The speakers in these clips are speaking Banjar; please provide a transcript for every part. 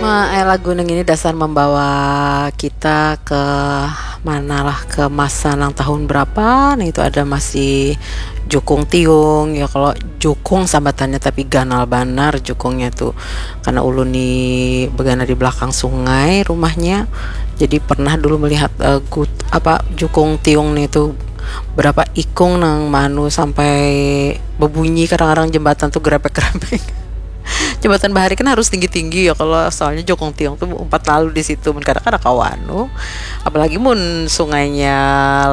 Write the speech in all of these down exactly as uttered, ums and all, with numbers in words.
Eh, lagu nang ini dasar membawa kita ke mana lah, ke masa nang tahun berapa, nah itu ada masih jukung tiung ya, kalau jukung sambatannya, tapi ganal banar jukungnya tuh, karena ulun ni begana di belakang sungai rumahnya, jadi pernah dulu melihat eh, gut, apa, jukung tiung nih tuh berapa ikung nang manu sampai bebunyi kadang-kadang jembatan tuh gerepek-gerepek. Jembatan bahari kan harus tinggi-tinggi ya, kalau soalnya jokong tiong tuh umpat lalu di situ, mun kada kada kawa anu, apalagi mun sungainya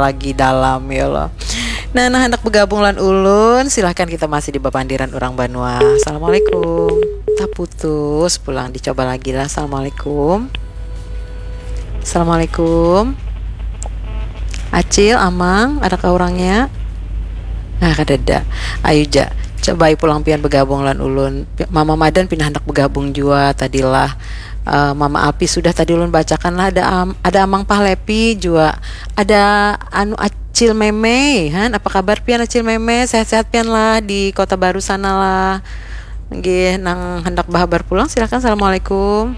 lagi dalam ya loh. Nah, nah, hendak bergabung lan ulun, silahkan, kita masih di bapandiran orang banua. Assalamualaikum. Taputus pulang, dicoba lagi lah. Assalamualaikum. Assalamualaikum. Acil, Amang, adakah orangnya? Nah, kadada. Ayu ja, cobai pulang pian begabung lan ulun. Mama Madan pina handak begabung jua tadilah. Eh, Mama Api sudah tadi ulun bacakan lah, ada am, ada Amang Pahlepi jua. Ada anu Acil Meme, han, apa kabar pian Acil Meme? Sehat-sehat pian lah di Kota Baru sana lah. Nggih, nang handak bahabar pulang silakan. Assalamualaikum.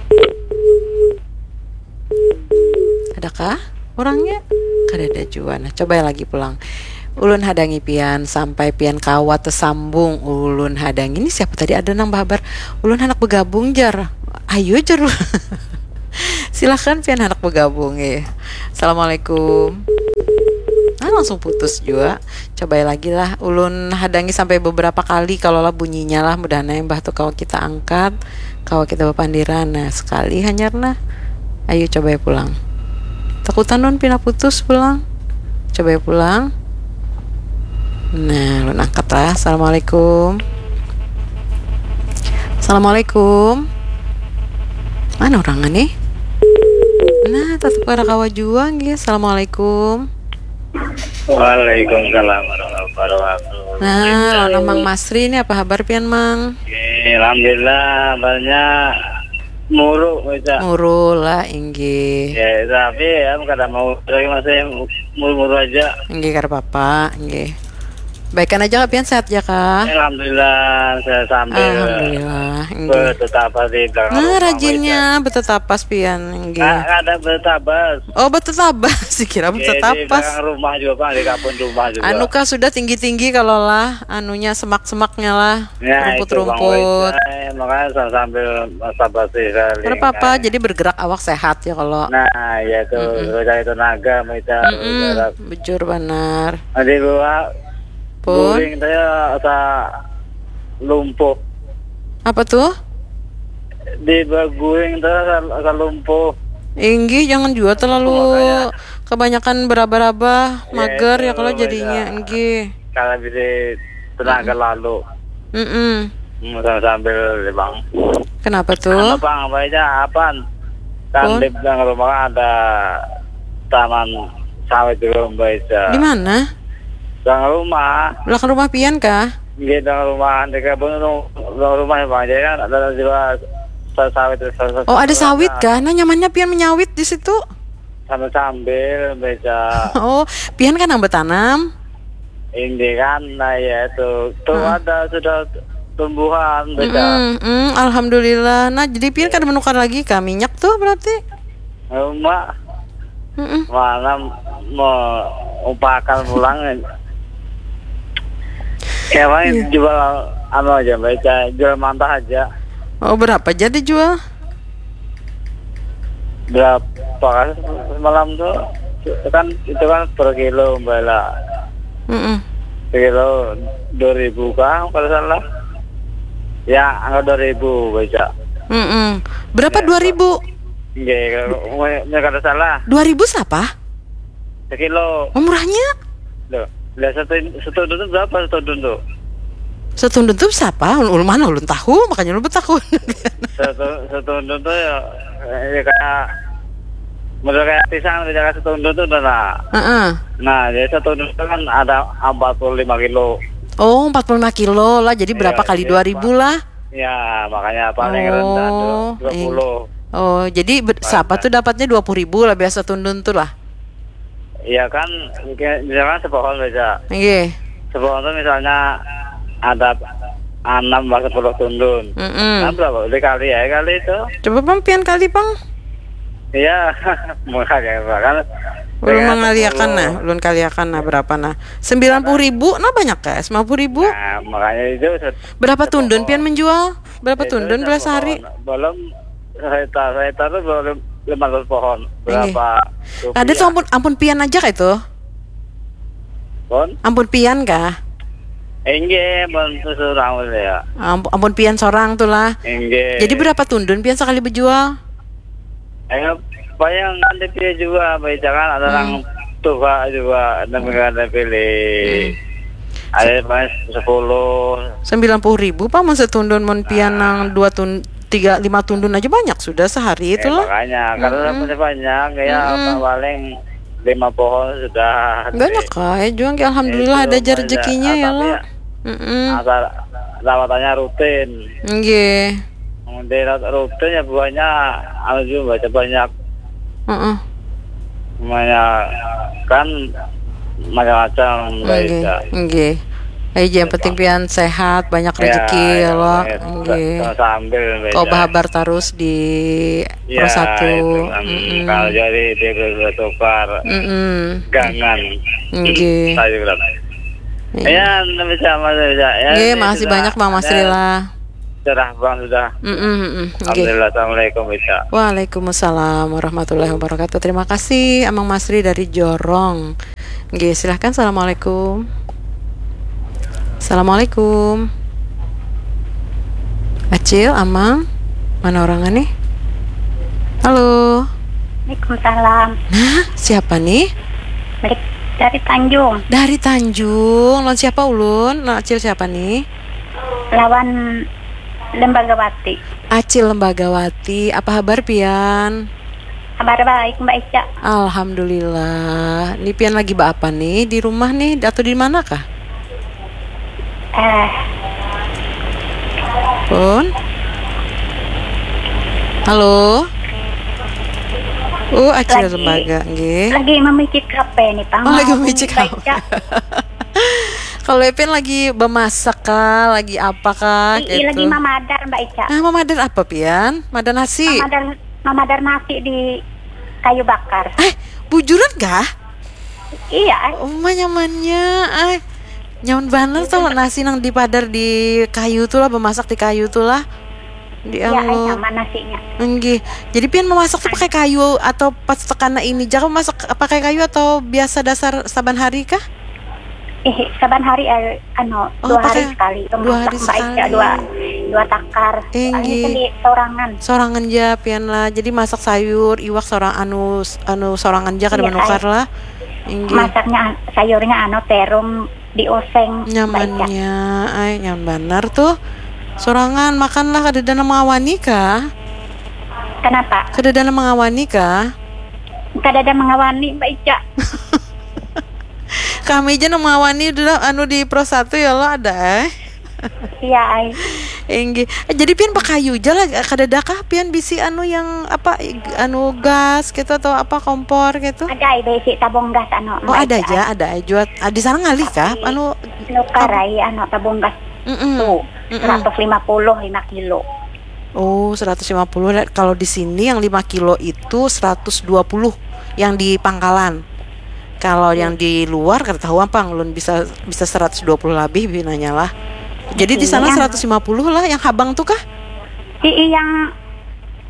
Adakah orangnya? Kadada jua. Nah, coba lagi pulang. Ulun hadangi pian sampai pian kawa tesambung. Ulun hadangi, ini siapa tadi, ada nang bahabar. Ulun handak begabung jar. Ayo jar. Silahkan pian handak begabung ya. Assalamualaikum. Ah, langsung putus jua. Cobai lagi lah. Ulun hadangi sampai beberapa kali kalau lah bunyinya lah. Mudahan yang bah tu kawa kita angkat. Kawa kita bapandiran. Nah, sekali hanyar nah. Ayo coba ya pulang. Takutan non pina putus pulang. Coba ya pulang. Nah, lu angkat lah. Assalamualaikum. Assalamualaikum. Mana orang nih? Nah, tetap ada kawa juang ya. Assalamualaikum. Waalaikumsalam warahmatullahi wabarakatuh. Nah, lo Mang Masri ini apa kabar pian Mang? Alhamdulillah, banyak muru baca. Muru lah, inggih. Ya, tapi ya kada mau lagi masih muru-muru aja. Inggih, kada apa-apa, inggih. Baikan aja kah pian, sehat ya kah? Alhamdulillah, saya sambil Alhamdulillah, inggih. Bertetap di belakang Nah, rumah rajinnya betetapas pian, inggih. Nah, ada bertabas. Oh, betetapas, kira Di betetapas. Belakang rumah juga, Bang, di kebun rumah juga. Anu kah sudah tinggi-tinggi kalau lah, anunya semak-semaknya lah, Ya, itu, Bang, rumput-rumput. Wais. Eh, makanya sam- sambil sabar sih, saling, Kada apa-apa, eh. Jadi bergerak awak sehat ya kalau. Nah, ya tuh, Mm-mm. cari tenaga, kita Mm-mm, bergerak. Bujur banar. Nanti gua Pun, guring saya asa lumpuh. Apa tuh? Di baguring saya asa, asa lumpuh. Inggih, jangan juga terlalu Makanya. Kebanyakan beraba-raba, Ya, mager ya itu, kalau jadinya, beda. Inggih. Kalau bisa tenaga lalu. Mm-mm. Hmm, sambil, sambil, Bang. Kenapa Anu, tuh? Bang, apa aja, apaan? Kan Pun? Di belakang rumah kan ada taman sawit juga, Mbak Ica. Di mana? Belakang rumah. Belakang rumah pian kah? Di belakang rumah, di kebun belakang rumah ya, Bang. Jadi kan ada juga sa- sawit. Sa- sa- Oh, ada sawit sa- kah? Nah, nyamannya pian menyawit di situ. Sambil-sambil, Mbak Ica. Oh, pian kan yang bertanam? Ini kan, nah ya itu. Tuh Heeh. Ada sudah tumbuhan, Mbak Ica. Mm-mm, mm, alhamdulillah. Nah, jadi pian kada menukar lagi kah minyak tuh berarti? Rumah Mm-mm. mana mau upakan pulang. Ya, paling Iya. Jual anu aja, Mbak Ica, jual mantah aja. Oh, berapa jadi jual? Berapa kan semalam tuh? Kan itu kan per kilo, Mbak, lah. Mm-mm. Per kilo dua ribu kah, kalau salah. Ya, angka dua ribu, Mbak Ica. Mm-mm. Berapa Ya, dua ribu? Nggih, kalau nggak ada salah. Dua ribu siapa? Sekilo. Oh, murahnya? Loh, lah satu satu itu berapa satu itu? Setundun tuh siapa? Ulun mana ulun tahu, makanya ulun bertakun. Satu satu itu tuh ya, ya kayak model kayak pisang, kayak satu itu tuh nah. Heeh. Nah, jadi satu itu kan ada empat puluh lima kilo. Oh, empat puluh lima kilo lah. Jadi berapa Iya, kali iya, dua ribu lah? Ya, makanya paling rendah tuh Oh, dua puluh. Oh, jadi ber- siapa tuh dapatnya dua puluh ribu lah biasa tundun tuh lah. Iya kan, kayak misalkan sepohon aja. Nggih. Sepohon tuh misalnya ada Anam lah sepuluh tundun. Mm-mm. Nah, berapa? Dikali ya kali itu. Coba pang pian kali pang. Iya, mengkali apa kan? Ulun Dengan mengaliakan sepuluh. Nah, ulun kaliakan nah berapa nah? Sembilan puluh ribu nah banyak kah? Sembilan puluh ribu. Nah, makanya itu se- Berapa tundun sepohon. Pian menjual? Berapa Itu tundun belas hari? Sepohon. Belum sehektar, sehektar itu belum lima ratus pohon. Inggih. Berapa? Ada tuh ampun ampun Pian aja kah itu? Pon? Ampun Pian kah? Enggak, pon seorang ya. Ampun, ampun Pian seorang tuh lah. Enggak. Jadi berapa tundun Pian sekali berjual? Eh, bayang nanti dia juga, baik jangan ada Hmm. orang tua juga, ada yang pilih. Hmm. Ada paling sepuluh. Sembilan puluh ribu pak mun setundun mun Pian Nah. nang dua tun tiga lima tundun aja banyak sudah sehari itu Eh, lah. makanya, karena Mm-mm. masih banyak, ya Mm-mm. apa paling lima pohon sudah. Banyak kah? Ya juga alhamdulillah Itu ada jar banyak. rezekinya Ah, ya tapi lah. Ya, Mm-mm. asal rawatannya rutin. Nggih. Kemudian rutin ya buahnya, anu juga baca banyak, Heeh. banyak kan, macam-macam Nggih. baca. Nggih. Ayo yang penting Pian sehat, banyak Ya, rezeki ya ya, lo. ya, Nggih. sambil baca. Kau berhabar terus di Ya, Pro Satu. Itu, em, Mm-mm. Kalau jadi dia bertukar Mm-mm. Gangan. Nggih. Saya bilang. Iya. Ya, bisa, Mas, bisa. Ya, Nggih, ini makasih sudah, banyak Bang Masri ya, lah. Cerah bang sudah. Mm-mm, mm-mm. Nggih. Alhamdulillah, assalamualaikum, bisa. Waalaikumsalam warahmatullahi wabarakatuh. Terima kasih Amang Masri dari Jorong. Nggih, silahkan. Assalamualaikum. Assalamualaikum. Acil, Amang, mana orangnya nih? Halo. Waalaikumsalam. Nah, siapa nih? Balik dari Tanjung. Dari Tanjung. Lawan siapa ulun? Nah, Acil siapa nih? Lawan Lembagawati. Acil Lembagawati. Apa habar pian? Kabar baik, Mbak Ica. Alhamdulillah. Ini pian lagi apa nih? Di rumah nih atau di mana kah? Eh, Pun? Halo? Uh, Acil Lagi- Lembaga, nggih. Lagi memicik H P nih, Pang. Oh, lagi Mau memicik Mbak H P. Ica. Kalau Ipin lagi bemasak kah, lagi apa kah, Ii, lagi gitu. Mamadar, Mbak Ica. Nah, mamadar apa pian? Mamadar nasi. Mamadar, mamadar nasi di kayu bakar. Eh, bujuran kah? Iya, ay. Oh, mah nyamannya. Ay, nyaman banget tuh nasi nang dipadar di kayu tuh lah, bemasak di kayu tuh lah. Di Iya, ay, anu. Sama nasinya. Nggih. Jadi pian memasak tuh pakai kayu atau pas tekana ini? Jangan masak pakai kayu atau biasa dasar saban hari kah? Eh, saban hari, eh, anu, Oh, dua hari pakai sekali itu dua masak, hari Mbak Ica, sekali. Dua, dua takar. Inggih. Ini sendiri sorangan. Sorangan ja pian lah. Jadi masak sayur, iwak sorang anu anu sorangan ja kada Iya, menukar ay. Lah. Inggih. Masaknya an- sayurnya anu terung dioseng, Mbak Ica. Nyamannya, ay nyaman banar tuh. Sorangan makanlah kada ada nang mengawani kah? Kenapa? Kada ada nang mengawani kah? Kada ada mengawani, Mbak Ica. Kami aja nang mengawani dulu anu di Pro Satu ya lo ada eh. Iya, ay. Inggih. Eh, jadi pian pakai kayu aja lah, kada ada kah pian bisi anu yang apa anu gas gitu atau apa kompor gitu? Ada, ay, bisi tabung gas anu. Oh, Mbak ada Ica, aja, ay. ada aja. Ah, di sana ngalih kah? Anu Nukar, ay, anu tabung gas. Mm-mm. Tuh, Mm-mm. Seratus lima puluh lima kilo. Oh, seratus lima puluh. Kalau di sini yang lima kilo itu seratus dua puluh yang di pangkalan. Kalau yang di luar kada tahu apa ulun bisa bisa seratus dua puluh lebih binanya lah. Jadi di sana Iya. Seratus lima puluh lah yang habang tuh kah? Ii, yang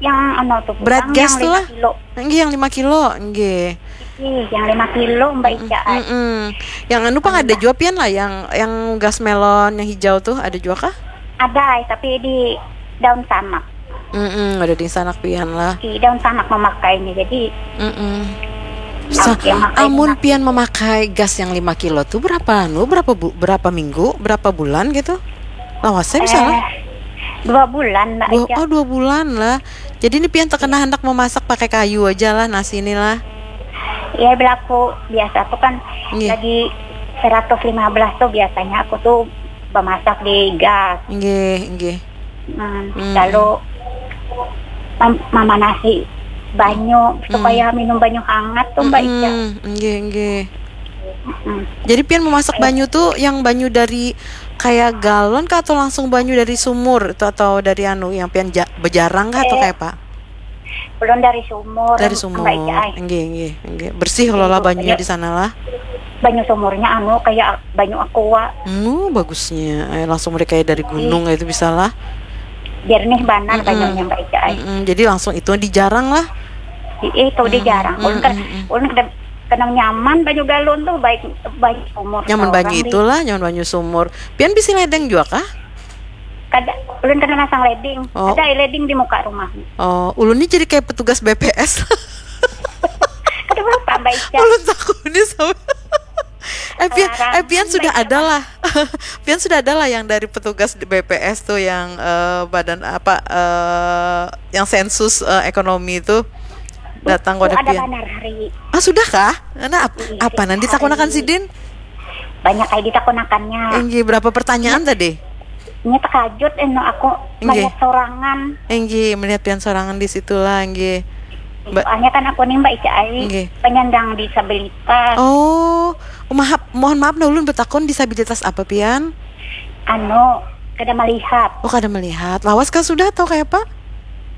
yang anu tuh, Berat Bang, gas yang tuh lima lah. kilo. Enggak, yang lima kilo, enggak. Ih, yang lima kilo, Mbak Ica, ay. Mm-mm. Yang anu pang ada juga pian lah, yang yang gas melon yang hijau tuh ada juga kah? Ada, ay, tapi di daun sanak. Mm-mm, ada di sanak pian lah. Di daun sanak memakainya. Jadi Mm-mm. Sa- Oke, makanya amun nak- pian memakai gas yang lima kilo tuh berapa anu berapa bu- berapa minggu berapa bulan gitu? Lawasnya misalnya? Eh, dua bulan, Mbak Dua, Ica. Oh, dua bulan lah. Jadi ini pian terkena hendak memasak pakai kayu aja lah nasi ini lah. Iya, berlaku biasa tuh kan Iya. Lagi seratus lima belas tuh biasanya aku tuh memasak di gas. Nggih, nggih. Hmm, Hmm. Lalu mem- memanasi banyu supaya minum banyu hangat tuh, Mbak Ica. Mm-mm, nggih, nggih. Hmm. Jadi pian memasak banyu tuh yang banyu dari kayak galon kah atau langsung banyu dari sumur itu atau dari anu yang pian ja- bejarang kah atau Eh. kayak apa? Ulun dari sumur. Dari sumur. Mbak Ica, ai. Nggih, nggih, nggih. Bersih loh lah banyunya di sana lah. Banyu sumurnya anu kayak banyu aqua. Hmm, bagusnya. Eh, langsung mereka dari gunung itu bisa lah. Jernih banar Mm-mm. Banyunya Mbak Ica, ai. Mm-mm. Jadi langsung itu dijarang lah. Ih, itu dijarang. Ulun kan mm-mm. Ulun kada kenang nyaman banyu galon tuh, baik banyu sumur. Nyaman Orang banyu di- itulah, nyaman banyu sumur. Pian bisi ledeng juga kah? Kada, ulun kada masang leding. Oh. Ada ai leding di muka rumah. Oh, ulun ni jadi kayak petugas B P S. Kada apa Mbak Ica. Ulun takutnya sama. Eh, pian, Larang. Eh, pian sudah ada lah. Pian sudah ada lah yang dari petugas di B P S tuh yang eh, badan apa eh, yang sensus eh, ekonomi itu datang Oh, pada ada pian. Banar hari. Ah, sudah kah? Nah, ap- Iya, apa nanti hari. Takunakan sidin? Banyak kayak ditakunakannya. Inggih, berapa pertanyaan tadi? Ini terkajut eno aku Nggih. Melihat sorangan. Inggih, melihat pian sorangan di situlah, inggih. Mbak, Soalnya kan aku nih Mbak Ica ai Nggih. penyandang disabilitas. Oh, maaf, mohon maaf nah ulun betakon disabilitas apa pian? Anu, kada melihat. Oh, kada melihat. Lawas kah sudah atau kayak apa?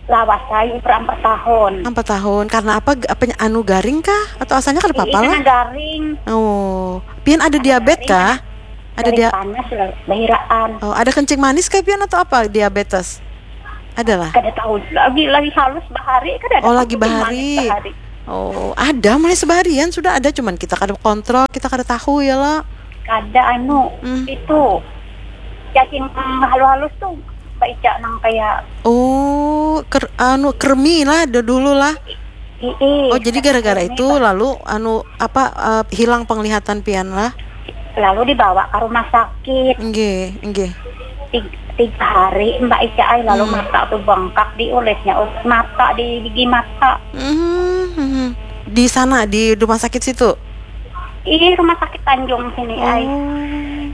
Lawas ai per empat tahun. Empat tahun. Karena apa? Apa anu garing kah? Atau asalnya kada apa-apa Ih, lah? Kena garing. Oh, pian ada diabetes Garing, kah? Ada Garing dia. Panas lah, bahiraan. Oh, ada kencing manis kah pian atau apa diabetes? Adalah. Kada tahu lagi lagi halus bahari kada ada Oh, lagi kencing manis bahari. Bahari. Oh, ada mulai sebaharian sudah ada, cuman kita kada kontrol, kita kada tahu ya lah. Kada anu Hmm. Itu cacing halus-halus tuh Mbak Ica nang kayak Oh, ker, anu kremi lah do- dulu lah. Ii, Oh, jadi gara-gara itu lalu anu apa eh, hilang penglihatan pian lah. Lalu dibawa ke rumah sakit. Nggih, nggih. Tiga, tiga hari Mbak Ica ai lalu Hmm. Mata tuh bengkak di ulisnya ulis mata di gigi mata. Mhm, mhm. Di sana di rumah sakit situ. Ih, rumah sakit Tanjung sini ai. Oh.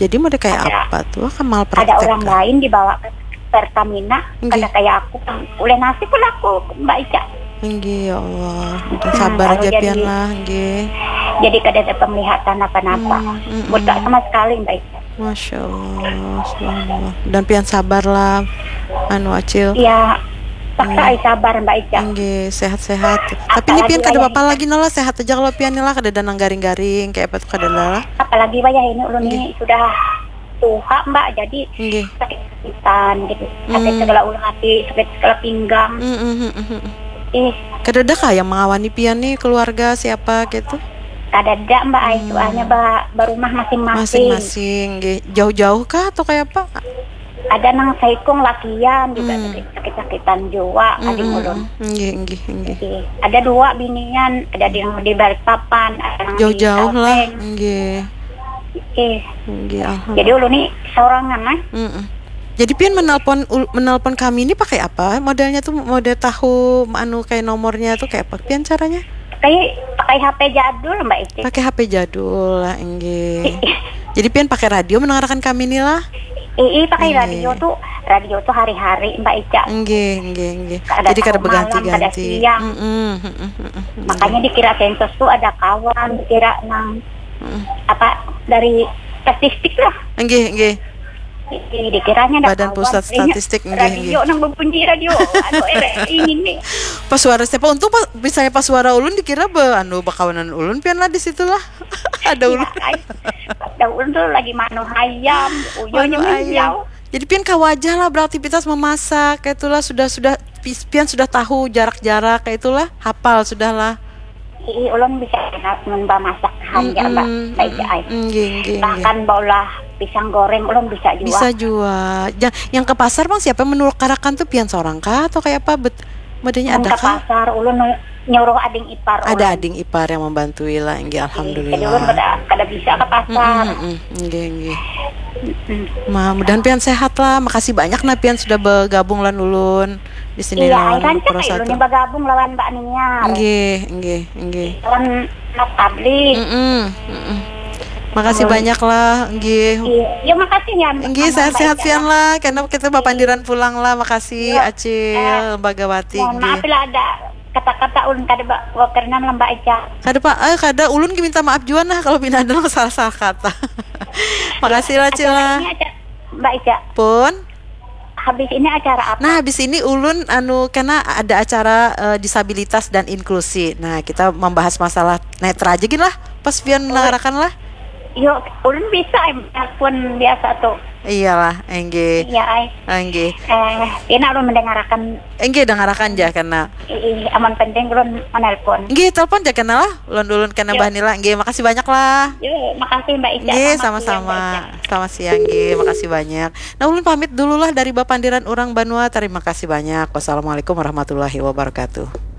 Jadi mau kayak Ada- apa tuh? Kan mal Ada orang kah? Lain dibawa ke Pertamina, Nggih. Kada kayak aku yang ulih nasib pun aku Mbak Ica. Nggih, ya Allah. Udah Hmm, sabar kalau aja jadi- pian lah, nggih. Jadi kada ada penglihatan apa-apa. Hmm, mm-mm. Buta sama sekali Mbak Ica. Masya Allah, subhanallah. Dan pian sabar lah, anu Acil. Iya, paksa ai sabar Mbak Ica. Nggih, sehat-sehat. Tapi ini Apalagi pian kada wayah apa-apa lagi nala, sehat aja kalau pian lah, kada ada nang garing-garing kayak apa tuh kada ada lah. Apalagi wayah ini ulun ini sudah tuha Mbak, jadi Nggih. sakit-sakitan gitu. Sakit Hmm. segala ulun hati, sakit segala pinggang. Mm, mm, mm, mm, mm. Ih, Kada ada kah yang mengawani pian nih keluarga siapa gitu? Kada ada Mbak ai, Hmm. Soalnya ba barumah masing-masing. Masing-masing, nggih. Jauh-jauh kah atau kayak apa? Ada nang saikung lakian juga Hmm. sakit- sakit-sakitan jua Mm, adik mm, ulun. mm. Nggih, nggih, nggih. Ih, Ada dua binian, ada di yang di Balikpapan, ada yang di Jauh-jauh lah, Kalteng. Nggih. Ih, Nggih, alhamdulillah. Jadi ulun nih sorangan lah. Mm-mm. Jadi pian menelpon ul- menelpon kami ini pakai apa? Modelnya tuh model tahu anu kayak nomornya tuh kayak apa? Pian caranya? Pakai pakai H P jadul Mbak Ici. Pakai H P jadul lah, enggih. Jadi pian pakai radio mendengarkan kami nih lah. Ii pakai Iya. Radio tuh, radio tuh hari-hari Mbak Ica. Enggih, enggih, enggih. Kada Jadi kada tahu malam, berganti-ganti. Kada siang. Mm-mm, mm-mm, mm-mm. Makanya dikira sensus tuh ada kawan, dikira nang Mm-mm. apa dari statistik lah. Enggih, enggih. Ii, dikiranya ada Badan kawan. Pusat Kayaknya Statistik, enggih, radio enggih. Nang berbunyi radio, anu R R I ini nih. Pas suara siapa? Untung pas misalnya pas suara ulun dikira be anu bakawanan ulun pian lah di situ lah. Ada ulun. Iya, kan? Ada ulun tuh lagi manu hayam, uyuhnya Manu ayam. menjauh. Jadi pian kawa aja lah beraktivitas memasak kayak itulah sudah sudah pis- pian sudah tahu jarak-jarak kayak itulah hafal sudah lah. Ii, ulun bisa enak mun bamasak hanja Mm-mm, mbak, mbak Ica ai. mm-mm, nggih, nggih, nggih. Bahkan baulah pisang goreng ulun bisa jua. Bisa jua. Ja- yang ke pasar bang siapa yang menukarakan tuh pian seorang kah atau kayak apa bet modelnya Mun ada ke kah? Pasar ulun nu- nyuruh ading ipar Ada ulun. Ading ipar yang membantu lah, nggih Jadi ulun alhamdulillah. kada, kada bisa ke pasar. Mm-mm, mm-mm, nggih, nggih. Mm-mm. Ma, mudahan pian sehat lah. Makasih banyak nah pian sudah bergabung lan ulun di sini Iya, lawan ai rancak Pro ai ulun Satu. Yang bergabung lawan Mbak Niar. Nggih, nggih, nggih. Lawan Mas Fadli. Mm-mm, mm-mm. Makasih Amin. Banyak lah, nggih. Iya, ya, makasih ya. Nggih, Mbak sehat-sehat Ica. pian lah, karena kita bapandiran pulang lah. Makasih Iya. Acil, Eh, Lembaga Wati, Mohon maaf nggih. Bila ada kata-kata ulun kada ba- bakenan lah Mbak Ica. Kada pak, eh kada, ulun gin minta maaf jua nah kalau pina ada nang salah-salah kata. Makasih lah Cila. Acara ini acara Mbak Ica. Pun. Habis ini acara apa? Nah, habis ini ulun anu karena ada acara eh, disabilitas dan inklusi. Nah, kita membahas masalah netra aja gin lah. Pas pian mendengarkan lah. Yuk, ulun bisa em, telepon biasa tuh. Iyalah, enggih. Iya, ai. Enggih. Eh, ini ulun mendengarakan. Enggih, dengarakan ja karena Ih, amun penting ulun menelpon. Enggih, telepon ja karena lah. Ulun-ulun karena Yuk. Mbah Nila. Enggih, makasih banyak lah. Yuk, makasih Mbak Ica. Enggih, Selamat siang, sama-sama. Mbak Ica. Selamat siang, enggih. Makasih banyak. Nah, ulun pamit dulu lah dari Bapandiran Urang Banua. Terima kasih banyak. Wassalamualaikum warahmatullahi wabarakatuh.